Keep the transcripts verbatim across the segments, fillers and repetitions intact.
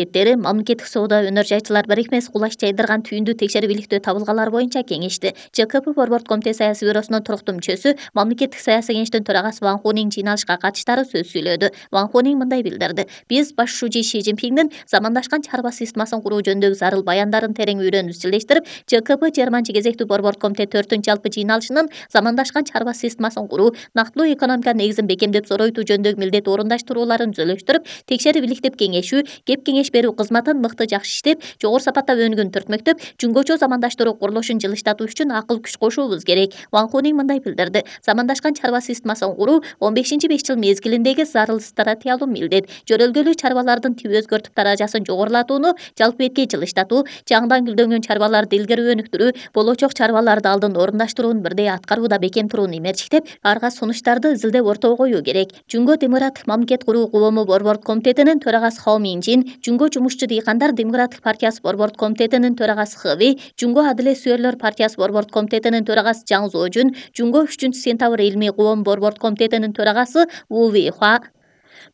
Эттери Мамлекеттик соода өнөр жайчылар бирикмеси кулаш жайдырган түйүндү текшерип иликтөө табылгалар боюнча кеңешти. ЖКП Борбордук комитет саясий бюросунун туруктуу мүчөсү, Мамлекеттик саясий кеңештин төрагасы Ван Хунин жыйналышка катыштары сөз сүйлөдү. Ван Хунин мындай билдирди: Биз баш шужи Ши Цзиньпиндин замандашкан чарба системасын куруу жөнүндөгү зарыл баяндарын терең үйрөнүп изчилештирип, ЖКП жыйырманчы кезектүү Борбордук комитет төртүнчү жалпы жыйналышынын замандашкан чарба системасын куруу, нактылуу экономиканын негизин бекемдеп зоройтуу жөнүндөгү милдет орундаштырууларын түзөлөштүрүп, текшерип иликтеп кеңешүү, кеп кеңеш берүү кызматын мыкты жакшы иштеп, жогору сапатта өнүгүүнү түртмөктөп, жүнгөчө замандаштыруу курулушун жылыштатуу үчүн акыл күч кошуубуз керек. Ван Хунин мындай билдирди: Замандашкан чарба системасын куруу он бешинчи беш жыл мезгилиндеги зарыл стратегиялуу милдет. Жөрөлгөлүү чарбалардын тип өзгөртүп даражасын жогорулатууну жалпы бетке жылыштатуу, жаңыдан гүлдөнгөн чарбаларды илгери өнүктүрүү, болочок чарбаларды алдын орундаштырууну бирдей аткарууда бекем турууну эмерчиктеп, арга сунуштарды изилдеп ортого коюу керек. Жүнгө демократик мамлекет куруу коому Борбордук комитетинин төрагасы Хао Минжин, Жүнгө жумушчу дыйкандар демократик партиясы Борбордук комитетинин төрагасы Хэви, Жүнгө адилет сүйөрлөр партиясы Борбордук комитетинин төрагасы Жаң Зожун, Жүнгө үчүнчү сентябрь илимий коом Борбордук комитетинин төрагасы Ву Вэйхуа,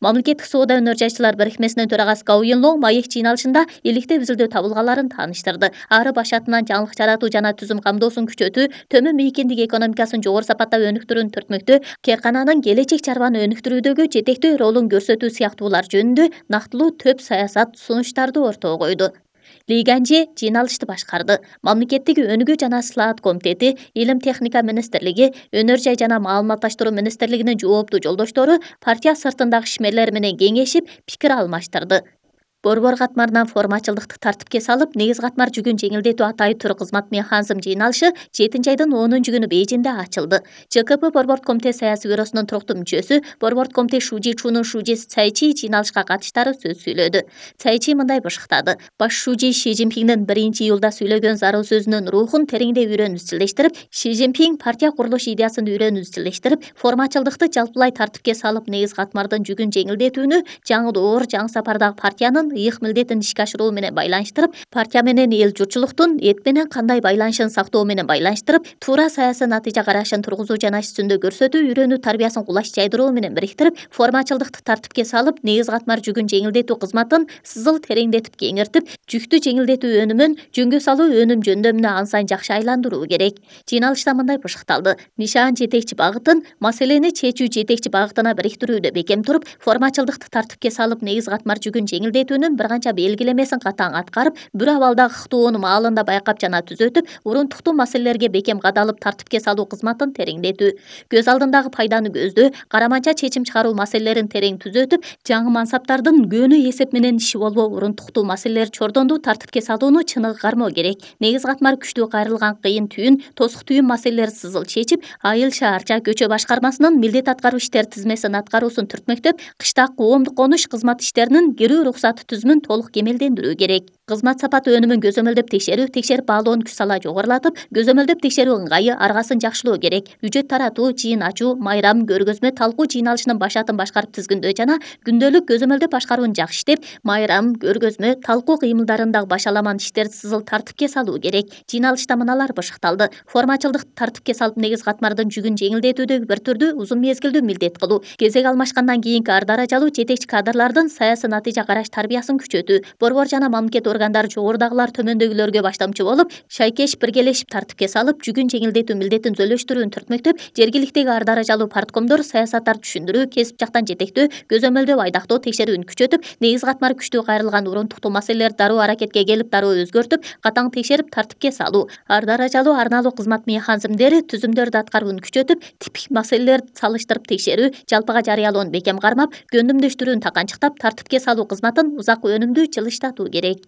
Мамлекеттик соода өнөр жайчылар бирикмесинин төрагасы Гау Юнлоң маек жыйналышында иликтеп изилдөө табылгаларын тааныштырды. Ары баш атынан жаңылык жаратуу жана түзүм камдоосун күчөтүү, төмөн мейкиндик экономикасын жогору сапатта өнүктүрүүнү түртмөктөө, кээркананын келечек чарбаны өнүктүрүүдөгү жетектөө ролун көрсөтүү сыяктуулар жөнүндө нактылуу төп саясат сунуштарды ортого койду. Ли Ганжи жыйналышты башкарды. Мамлекеттик өнүгүү жана слаат комитети, Илим техника министрлиги, Өнөр жай жана маалыматташтыруу министрлигинин жооптуу жолдоштору партия сыртындагы ишмерлер менен кеңешип, пикир алмаштырды. Борбор катмарынан формачылдыкты тартипке салып, негиз катмар жүгүн жеңилдетүү атай тур кызмат механизм жыйналышы жетинчи айдын онунчу күнү Бейжиңде ачылды. ЖКП Борбордук комитет саясий бюросунун туруктуу мүчөсү, Борбордук комитет Шужи Чунун шужиси Цай Чи жыйналышка катыштары сөз сүйлөдү. Цай Чи мындай бышыктады: Баш шужи Ши Цзиньпиндин биринчи июлда сүйлөгөн зарыл сөзүнүн рухун тереңдей үйрөнүп изчилештирип, Ши Цзиньпин партия курулуш идеясын үйрөнүп изчилештирип, формачылдыкты жалпылай тартипке салып, негиз катмардын жүгүн жеңилдетүүнү жаңы доор, жаңы сапардагы партиянын ыйык милдетин ишке ашыруу менен байланыштырып, партия менен эл журтчулуктун эт менен кандай байланышын сактоо менен байланыштырып, туура саясий натыйжа карашын тургузуу жана иш жүзүндө көрсөтүү, үйрөнүү тарбиясын кулаш жайдыруу менен бириктирип, формачылдыкты тартипке салып, негиз катмар жүгүн жеңилдетүү кызматын сызыл тереңдетип кеңиртип, жүктү жеңилдетүү өнүмүн жөнгө салуу өнүм жөндөмүнө ан сайын жакшы айландыруу керек. Жыйналышта мындай бышыкталды: Нишан жетекчи багытын, маселени чечүү жетекчи багытына бириктирүүдө бекем туруп, формачылдыкты тартипке салып, негиз катмар жүгүн жеңилдетүүнүн бир канча белгилемесин катаң аткарып, бир абалдагы ыктоону маалында байкап жана түзөтүп, урунтуктуу маселелерге бекем кадалып тартипке салуу кызматын тереңдетүү, көз алдындагы пайданы көздөө, караманча чечим чыгаруу маселелерин терең түзөтүп, жаңы мансаптардын көөнү эсеп менен иши болбоо урунтуктуу маселелер чордондуу тартипке салууну чыныгы кармоо керек. Негиз катмар күчтүү кайрылган кыйын түйүн, тосук түйүн маселелери сызыл чечип, айыл, шаарча, көчө башкармасынын милдет аткаруу иштер тизмесин аткаруусун түртмөктөп, кыштак коомдук конуш кызмат иштеринин кирүү уруксаты түзүмүн толук кемелдендирүү керек. Кызмат сапаты өнүмүн көзөмөлдөп текшерүү, текшерип баалоонун күч сала жогорулатып, көзөмөлдөп текшерүү ыңгайы, аргасын жакшылоо керек. Бюджет таратуу, жыйын ачуу, майрам, көргөзмө, талкуу жыйналышынын башатын башкарып тизгиндөө жана күндөлүк көзөмөлдөп башкарууну жакшы иштеп, майрам, көргөзмө, талкуу кыймылдарындагы башаламан иштерди сызыл тартипке салуу керек. Жыйналышта мыналар бышыкталды: формачылдыкты тартипке салып, негиз катмардын жүгүн жеңилдетүүдөгү бир түрдүү узун мезгилдүү милдет кылуу, кезек алмашкандан кийинки ар даражалуу жетекчи кадрлардын саясий натыйжа караш тарбиясын күчөтүү, борбор жана мамлекет органдары жогорудагылар төмөндөгүлөргө баштамчы болуп, шайкеш биргелешип тартипке салып, жүгүн жеңилдетүү милдетин түзөлөштүрүүнү түртмөктөп, жергиликтеги ар даражалуу парткомдор саясаттарды түшүндүрүү, кесип жактан жетектөө, көзөмөлдөө, айдактоо, текшерүүнү күчөтүп, негиз катмар күчтүү кайрылган урунтуктуу маселелерди дароо аракетке келип, дароо өзгөртүп, катаң текшерип тартипке салуу, ар даражалуу арналуу кызмат механизмдери, түзүмдөрдү аткарууну күчөтүп, типтик маселелерди салыштырып текшерүү, жалпыга жарыялоону бекем кармап, көндүмдөштүрүүнү таканчыктап, тартипке салуу кызматын узак өнүмдүү жылыштатуу керек.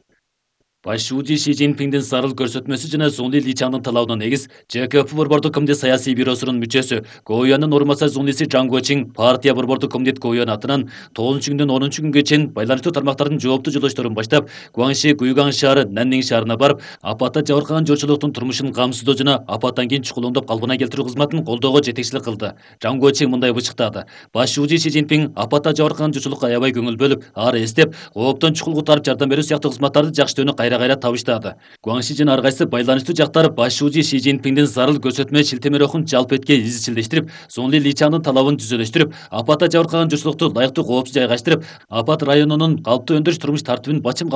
Баш шужи Ши Цзиньпиндин зарыл көрсөтмөсү жана Зунли Личаңдын талабына негиз ЖКП Борбордук комитет саясий бюросунун мүчөсү, Гоуянын орун басары Зунлиси Жаң Гочиң партия Борбордук комитет Гоуян атынан тогузунчу күндөн онунчу күнгө чейин байланыштуу тармактардын жооптуу жолдошторун баштап, Гуаңши, Гуйгаң шаары, Наннин шаарына барып, апатта жабыркаган журтчулуктун турмушун камсыздоо жана апаттан кийин чукулуңдоп калпына келтирүү кызматын колдоого жетекчилик кылды. Жаң Гочиң мындай бычыктады: Баш шужи Ши Цзиньпин апатта жабыркаган журтчулукка аябай көңүл бөлүп, ары эстеп, кооптон чукул кутарып жардам берүү сыяктуу кызматтарды жакшы иштөөнү кайра кайра табыштады. Гуан Шижин ар кайсы байланыштуу жактар баш шууji Си Цзиньпиндин зарыл көрсөтмө шилтемелөөгүн жалпы этке изчилдештирип, Сонли Личаңдын талабын түзөлөштүрүп, апатта жабыркаган журтчулукту лайыктуу коопсуз жайгаштырып, апат районунун калыптуу өндүрүш турмуш тартибин бачым